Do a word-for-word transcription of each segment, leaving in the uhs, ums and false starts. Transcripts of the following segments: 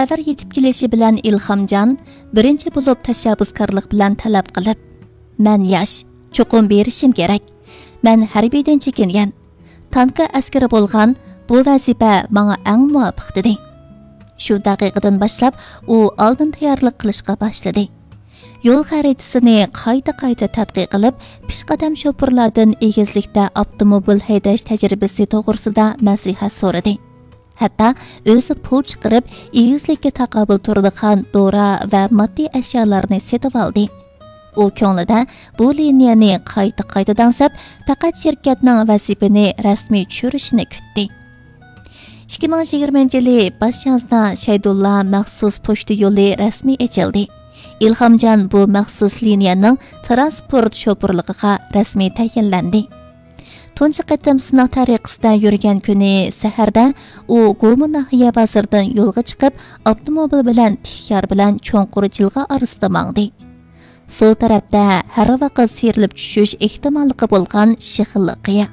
خەۋەر يېتىپ كېلىشى بىلەن ئىلھامجان بىرىنچى بولۇپ تەشەببۇسكارلىق بىلەن تەلەپ قىلىپ، مەن ياش، چوقۇم بېرىشىم كېرەك. مەن ھەربىيدىن چېكىنگەن. تانكا ئەسكىرى بولغان بۇ ۋەزىپە ماڭا ئەڭ مۇۋاپىق، دېدى. شۇ دەقىقىدىن باشلاپ ئۇ ئالدىن تەييارلىق قىلىشقا باشلىدى. يول خەرىتىسىنى قايتا-قايتا تەتقىق قىلىپ، پېشقەدەم شوپۇرلاردىن ئېگىزلىكتە ئاپتوموبىل ھەيدەش تەجرىبىسى توغرىسىدا مەسلىھەت سورىدى. ھەتتا ئۆزى پۇل چىقىرىپ، ئېگىزلىككە تاقابىل تۇرىدىغان دورا ۋە ماددىي ئەشيالارنى سېتىۋالدى. ئۇ كۆڭلىدە بۇ لىنىيەنى قايتا-قايتا دەڭسەپ، پەقەت شىركەتنىڭ ۋەزىپىنى رەسمىي چۈشۈرۈشىنى كۈتتى. ئىككى مىڭ يىگىرمىنچى يىلى باش يازدا شەيدۇللا مەخسۇس پوچتا يولى رەسمىي ئېچىلدى. ئىلھامجان بۇ مەخسۇس لىنىيەنىڭ تىرانسپورت شوپۇرلۇقىغا رەسمىي تەيىنلەندى. تۇنجى قېتىم سىناق تەرىقىسىدە يۈرگەن كۈنى سەھەردە ئۇ گۇمۇ ناھىيە بازىرىدىن يولغا چىقىپ، ئاپتوموبىل بىلەن تىك يار بىلەن چوڭقۇر جىلغا ئارىسىدا ماڭدى. سول تەرەپتە ھەر ۋاقىت سىيرىلىپ چۈشۈش ئېھتىماللىقى بولغان شېخىللىق قىيا.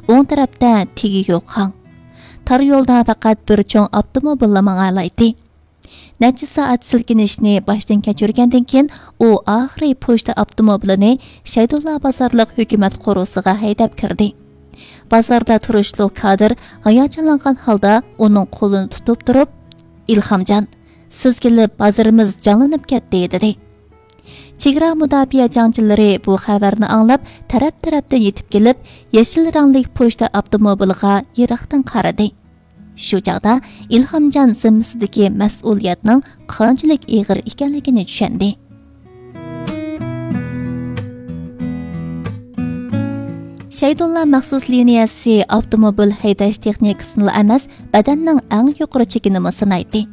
ئوڭ تەرەپتە تېگى يوق ھاڭ. تار يولدا پەقەت بىر چوڭ ئاپتوموبىللا ماڭالايتتى. نەچچە سائەت سىلكىنىشنى باشتىن كەچۈرگەندىن كېيىن، ئۇ ئاخىرى پوچتا ئاپتوموبىلىنى شەيدۇللا بازارلىق ھۆكۈمەت قورۇسىغا ھەيدەپ كىردى. بازاردا تۇرۇشلۇق كادىر ھاياجانلانغان ھالدا ئۇنىڭ قولىنى تۇتۇپ تۇرۇپ، «ئىلھامجان، سىز كېلىپ بازىرىمىز جانلىنىپ كەتتى» دېدى. چېگرا مۇداپىئە جەڭچىلىرى بۇ خەۋەرنى ئاڭلاپ، تەرەپ-تەرەپتىن يېتىپ كېلىپ، يېشىل رەڭلىك پوچتا ئاپتوموبىلىغا يىراقتىن قارىدى. شۇ چاغدا ئىلھامجان زىممىسىدىكى مەسئۇلىيەتنىڭ قانچىلىك ئېغىر ئىكەنلىكىنى چۈشەندى. شەيدۇللا مەخسۇس لىنىيەسى ئاپتوموبىل ھەيدەش تېخنىكىسىنىلا ئەمەس، بەدەننىڭ ئەڭ يۇقىرى چېكىنىمۇ سىنايتتى.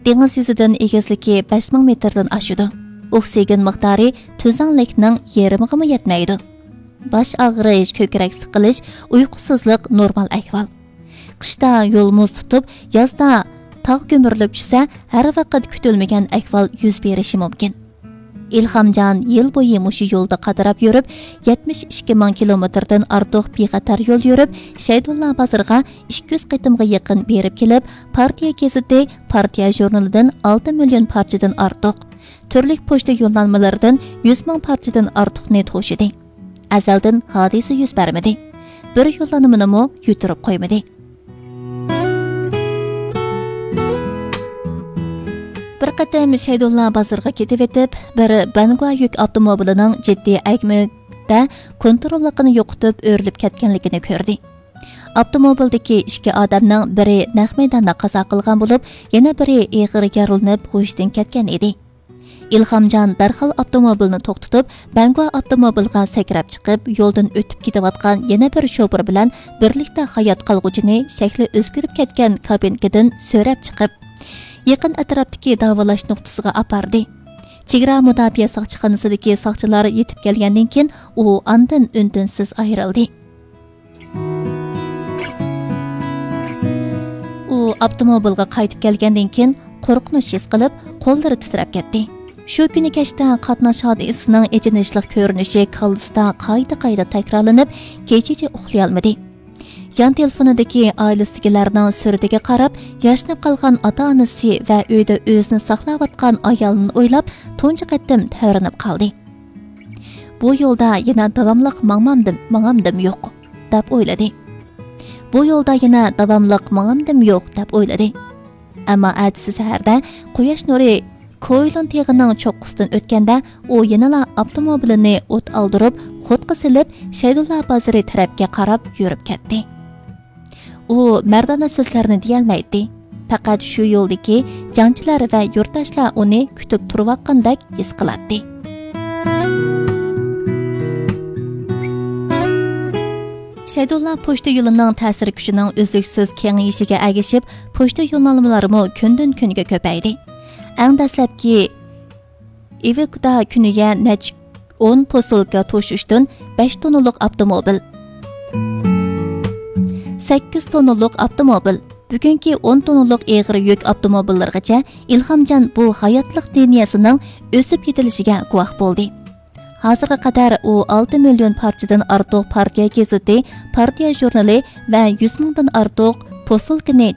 دېڭىز يۈزىدىن ئېگىزلىكى بەش مىڭ مېتىردىن ئاشىدۇ. ئوكسىگېن مىقدارى تۈزەڭلىكنىڭ يېرىمىغىمۇ يەتمەيدۇ. باش ئاغرىش، كۆكرەك سىقىلىش، ئۇيقۇسىزلىق نورمال ئەھۋال. قىشتا يول مۇز تۇتۇپ، يازدا تاغ كۆمۈرۈلۈپ چۈشسە، ھەر ۋاقىت كۈتۈلمىگەن ئەھۋال يۈز بېرىشى مۇمكىن. ئىلھامجان يىل بويى مۇشۇ يولدا قاتراپ يۈرۈپ، يەتمىش ئىككى مىڭ كىلومېتىردىن ئارتۇق بىخەتەر يول يۈرۈپ، شەيدۇللا بازىرىغا ئىككى يۈز قېتىمغا يېقىن بېرىپ كېلىپ، پارتىيە گېزىتى، پارتىيە ژۇرنىلىدىن ئالتە مىليون پارچىدىن ئارتۇق، تۈرلۈك پوچتا يوللانمىلىرىدىن يۈز مىڭ پارچىدىن ئارتۇقنى توشىدى. ئەزەلدىن ھادىسە يۈز بەرمىدى. بىر يوللانمىنىمۇ يۈتتۈرۈپ قويمىدى. بىر قېتىم شەيدۇللا بازىرىغا كېتىۋېتىپ، بىر بەنگۇا يۈك ئاپتوموبىلىنىڭ جىددىي ئەگمىدە كونتروللۇقىنى يوقىتىپ ئۆرۈلۈپ كەتكەنلىكىنى كۆردى. ئاپتوموبىلدىكى ئىككى ئادەمنىڭ بىرى نەق مەيداندا قازا قىلغان بولۇپ، يەنە بىرى ئېغىر يارىلىنىپ ھوشىدىن كەتكەن ئىدى. ئىلھامجان دەرھال ئاپتوموبىلنى توختىتىپ، بەنگۇا ئاپتوموبىلغا سەكرەپ چىقىپ، يولدىن ئۆتۈپ كېتىۋاتقان يەنە بىر شوپۇر بىلەن بىرلىكتە ھايات قالغۇچىنى شەكلى ئۆزگىرىپ كەتكەن كابىنكىدىن سۆرەپ چىقىپ، يېقىن ئەتراپتىكى داۋالاش نۇقتىسىغا ئاپاردى. چېگرا مۇداپىئە ساقچىخانىسىدىكى ساقچىلار يېتىپ كەلگەندىن كېيىن، ئۇ ئاندىن ئۈن-تىنسىز ئايرىلدى. ئۇ ئاپتوموبىلغا قايتىپ كەلگەندىن كېيىن، قورقۇنچ ھېس قىلىپ، قوللىرى تىترەپ كەتتى. شۇ كۈنى كەچتە قاتناش ھادىسىسىنىڭ ئېچىنىشلىق كۆرۈنۈشى كاللىسىدا قايتا-قايتا تەكرارلىنىپ، كېچىچە ئۇخلىيالمىدى. يان تېلېفونىدىكى ئائىلىسىدىكىلەرنىڭ سۈرىتىگە قاراپ، ياشىنىپ قالغان ئاتا-ئانىسى ۋە ئۆيدە ئۆزىنى ساقلاۋاتقان ئايالىنى ئويلاپ، تۇنجى قېتىم تەۋرىنىپ قالدى. «بۇ يولدا يەنە داۋاملىق ماڭمامدىم، ماڭامدىم يوق» دەپ ئويلىدى. «بۇ يولدا يەنە داۋاملىق ماڭامدىم يوق» دەپ ئويلىدى. ئەمما ئەتىسى سەھەردە قۇياش نۇرى كويلۇن تېغىنىڭ چوققىسىدىن ئۆتكەندە، ئۇ يەنىلا ئاپتوموبىلىنى ئوت ئالدۇرۇپ، خۇدقا سېلىپ، شەيدۇللا بازىرى تەرەپكە قاراپ يۈرۈپ كەتتى. ئۇ مەردانە سۆزلەرنى دېيەلمەيتتى. پەقەت شۇ يولدىكى جەڭچىلەر ۋە يۇرتداشلار ئۇنى كۈتۈپ تۇرۇۋاتقاندەك ھېس قىلاتتى. شەيدۇللا پوچتا يولىنىڭ تەسىر كۈچىنىڭ ئۈزلۈكسىز كېڭىيىشىگە ئەگىشىپ، پوچتا يوللانمىلىرىمۇ كۈندىن كۈنگە كۆپەيدى. ئەڭ دەسلەپكى ئىۋىكدا كۈنىگە نەچچە ئون پوسۇلكا توشۇشتىن بەش توننىلىق ئاپتوموبىل، سەككىز توننىلىق ئاپتوموبىل، بۈگۈنكى ئون توننىلىق ئېغىر يۈك ئاپتوموبىللىرىغىچە ئىلھامجان بۇ ھاياتلىق لىنىيەسىنىڭ ئۆسۈپ يېتىلىشىگە گۇۋاھ بولدى. ھازىرغا قەدەر ئۇ ئالتە مىليون پارچىدىن ئارتۇق پارتىيە گېزىتى، پارتىيە ژۇرنىلى ۋە يۈز مىڭدىن ئارتۇق پوسۇلكىنى